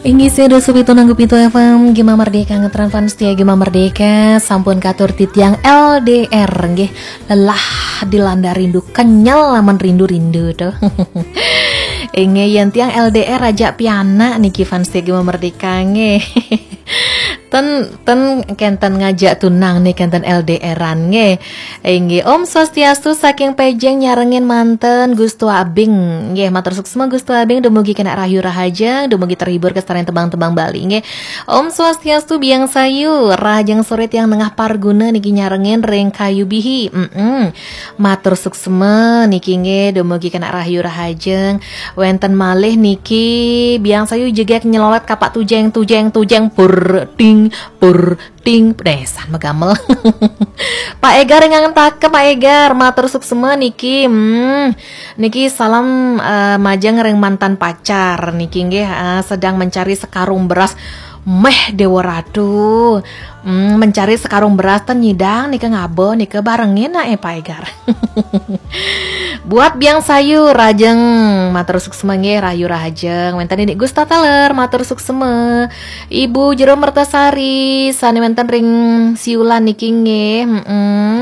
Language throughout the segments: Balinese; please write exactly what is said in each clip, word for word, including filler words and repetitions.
Inggih, saya Dosu Pitu Nanggu Pitu F M, Gema Merdeka, ngetren fans setia Gema Merdeka, sampun katur titiang L D R, nggih, lelah dilanda rindu, kenyal lamun rindu-rindu tuh. Inggih, yen tiang L D R aja pianak niki fans setia Gema Merdeka, nggih. Ten, ten kenten ngajak tunang nih, kenten L D R-an, nggih. Inggih, Om Swastiastu saking Pejeng nyarengin manten Gustu Abing. Nggih, matur suksma Gustu Abing, dumugi kena rahayu rahajeng, dumugi terhibur kestarian tembang-tembang Bali, nggih. Om Swastiastu, Biang Sayu, rahajeng sore tiang nengah parguna niki nyarengin ring Kayu Bihi. Mm-mm. Matur suksma niki, nggih, dumugi kena rahayu rahajeng. Wenten malih niki, Biang Sayu jegek nyelolot kapak tujeng, tujeng, tujeng, pur, ting, pur, ting, pedesan megamel. Pak Egar yang ngangen take, Pak Egar, matur suksma niki. Hmm, niki salam, eh, majeng ring mantan pacar niki, nggih, eh, sedang mencari sekarung beras. Meh, Dewa Ratu. Hmm, mencari sekarung beras ten nyidang nika ngaba nika, barengin nak, eh, Pak Egar. Buat Biang Sayu, rahajeng, matur suksma, nggih, rahayu rahajeng. Wenten Inik Gusta Taler, matur suksma. Ibu Jero Mertasari, sane wenten ring Siulan niki, nggih. Mm-mm.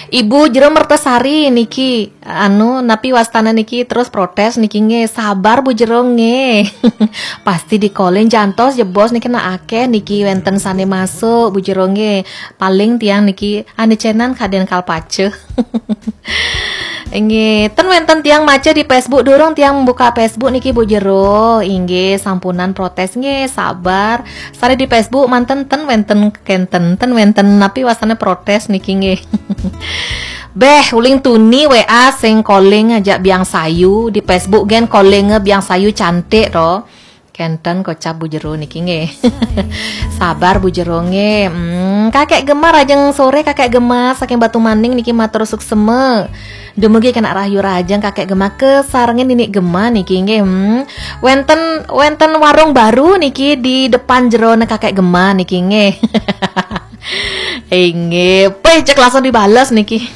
Ibu Jero Mertasari niki, anu, napi wastana niki terus protes niki, nggih. Sabar, Bu Jero, nggih. Pasti dikolin jantos jebos niki, nak akeh niki wenten sane masuk, Bu Jero, nggih. Paling tiang niki ane cenan kaden kalpace. Inggih, ten wenten tiang maca di Facebook, durung tiang buka Facebook niki, Bu Jero. Inggih, sampunan protes, nggih, sabar. Sare di Facebook manten ten wenten kenten, ten wenten napi wastane protes niki, nggih. Beh, uling tuni W A sing calling aja Biang Sayu, di Facebook gen calling Biang Sayu cantik to. Kenten kocap, Bu Jero, niki, nggih. Sabar, Bu Jero, nggih. Hmm, Kakek Gemar, ajeng sore, Kakek Gemar saking Batu Maning niki, matur suksma. Dumugi kena rahayu rahajeng, Kakek Gemar, kesarengin Inik Gemar niki, nggih. Hmm. Wenten, wenten warung baru niki di depan jerone Kakek Gemar niki, nggih. Inggih, peh, cek langsung dibales niki.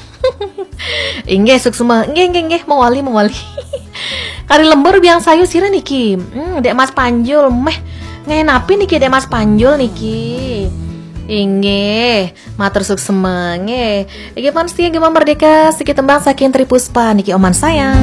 Inggih, suksma. Inggih, inggih, inggih, mawali, mawali. Kari lembur Biang Sayu sira niki. Hmm, Dek Mas Panjul, meh, ngenapi niki Dek Mas Panjul niki. Inggih, matur suksma, nggih. Iki fans setia Gema Merdeka, siki tembang saking Tri Puspa niki, Oman Sayang.